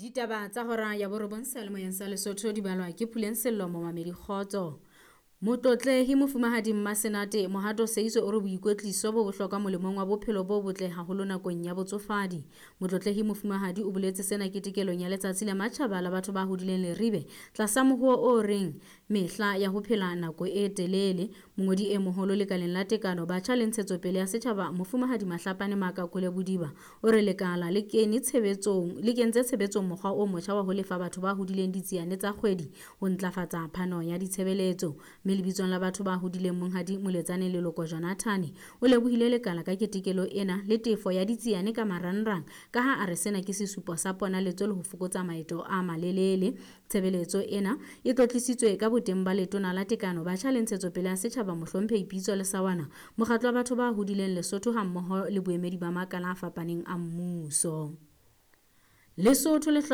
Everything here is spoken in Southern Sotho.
Ditaba tsa hora ya borobong seyalemoyeng sa Lesotho di balwa ke Puleng Sello momamedi kgotso. Motlotlehi Mofumahadi Mmasenate Mohato Seiso o re boikwetliso bo bohlokwa molemong wa bophelo bo botle haholo nakong ya botsofadi. Motlotlehi Mofumahadi o boletse sena ketekelong ya letsatsi la matjhaba la batho ba hodileng Leribe tlasa mohuo o reng mehla ya ho phela nako e telele. Mongodi e moholo lekaleng la tekano, batjha le ntshetsopele ya setjhaba Mofumahadi Mahlapane Makakole Bodiba o re lekala le kene tshebetsong le kentse tshebetsong mokgwa o motjha wa ho lefa batho ba hodileng ditsiane tsa kgwedi ho ntlafatsa phano ya ditshebeletso. Mme lebitsong la batho ba hodileng Monghadi Moletsane Leloko Jonathan o lebohile lekala ka ketekelo ena le tefo ya ditsiane ka marangrang ka ha a re sena ke sesupo sa ponaletso le ho fokotsa maeto a malelele. Tshebeletso ena e tlotlisitswe ka boteng ba letona la tekano, batjha le ntshetsopele ya setjhaba Mohlomphehi Pitso Lesawana, mokgatlo wa batho ba hodileng Lesotho hammoho le boemedi ba makala a fapaneng a mmuso. Lesotho le hloka